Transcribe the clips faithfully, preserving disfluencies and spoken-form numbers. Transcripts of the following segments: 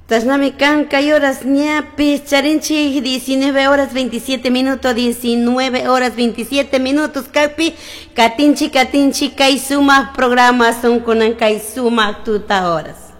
Tasnami kan kay horas ñapis charinchik diecinueve horas veintisiete minutos, diecinueve horas veintisiete minutos kakpi katinchik, katinchik kay sumak programa son kunan kay sumak tuta horas.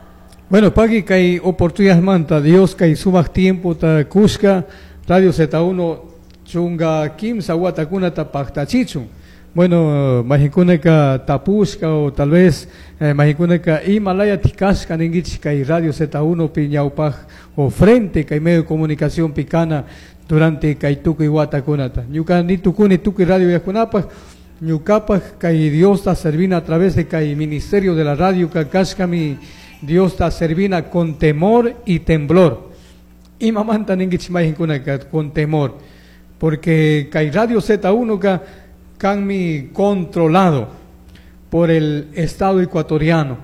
Bueno, paqui kay oportunidad manta Dios kay sumak tiempo ta kushka Radio Z uno chunka kimsa watakunata paktachichun. Bueno, mayqinkunaka tapushka o tal vez eh, mayqinkunaka imalaya tikashka ninkichik kay Radio Z uno pi ñawpaj o frente kay medio de comunicación pikana durante kay tukuy watakunata. Ñuka ni tukuni tukuy radio yakunapaj, ñukapaj kay Diosta servina a través de kay ministerio de la radio kashkami Diosta servina con temor y temblor. Imamanta ninkichik mayqinkunaka con temor? Porque kay Radio Z uno ka kanmi controlado por el Estado ecuatoriano.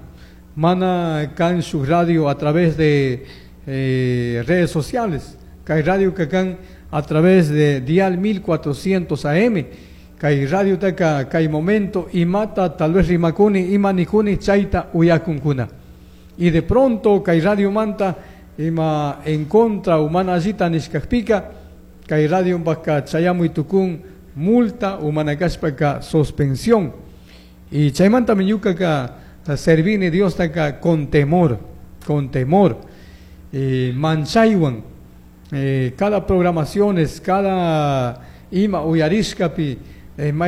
Mana kan su radio a través de eh, redes sociales. Kay radio kan a través de Dial mil cuatrocientos A M. Kay radio taka kay momento imata tal vez rimakuni ima nikuni chayta uyakunkuna. Y de pronto kay radio manta ima en contra o mana allita nishkakpika kay radio baka chayamuy tukun multa o mana kashpaka suspensión. Y chaymanta ñukaka servini Diosta con temor, con temor. Eh, manchaywan, eh, cada programaciones, cada ima uyarishkapi, eh,